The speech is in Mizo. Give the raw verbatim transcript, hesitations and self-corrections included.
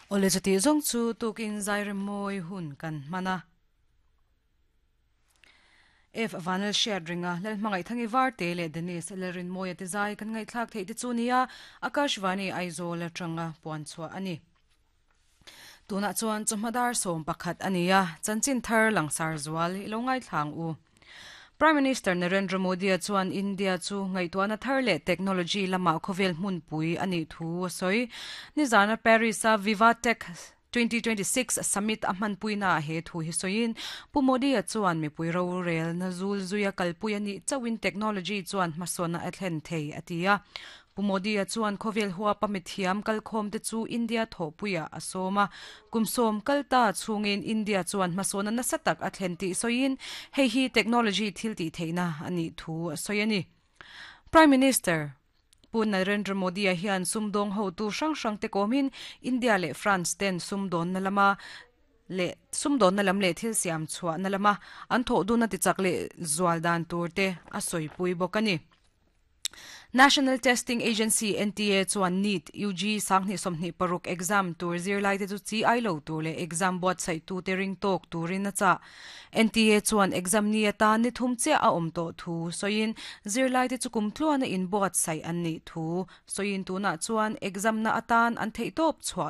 Ole chuti zawng chu tukin zairem mawi hun kan hman a. F Vanel Hriat ringa Lalhmangaih Thangi Varte leh Dennis Lalrinmawia te zai kan ngaihthlak theih te chu nia Akashvani Aizawl atanga puan chhuah a ni. Tunah chuan chawhma dar sawm pakhat a ni a, chanchin thar langsar zual i lo ngaithlang u. Prime Minister Narendra Modi a chuan India chu ngaihtuahna thar leh technology lama khawvel hmunpui a nih thu a sawi. Nizana Paris a Vivatech twenty twenty six Summit a hmanpuina ah he thu hi sawiin Pu Modi a chuan mipui rorel na zul zuia kalpui a nih chauhin technology chuan hmasawnna a thlen thei a ti a. Pu Modi a chuan khawvel huapa mithiam kalkhawm te chu India thawhpuiah a sawm a. Kum sawm kal ta chhungin India chuan hmasawnna nasa tak a thlen tih sawiin hei hi technology thil tih theihna a nih thu a sawi a ni. Prime Minister Pu Narendra Modi a hian sumdawng hotu hrang hrang te kawmin India leh France ten sumdawnna lama leh sumdawnna lam leh thil siam chhuahna lama an thawh duna tichak leh zual dan tur te a sawipui bawk a ni. National Testing Agency N T A chuan NEET U G sanghnih sawmhnih paruk exam tur zirlai te chu chi ai lo tur leh exam buatsaih tu te ring tawk turin a chah. N T A chuan exam ni atan ni thum chiah a awm tawh thu sawiin zirlai te chu kum tluana in buatsaih an nih thu sawiin tunah chuan exam na atan an theih tawp chhuah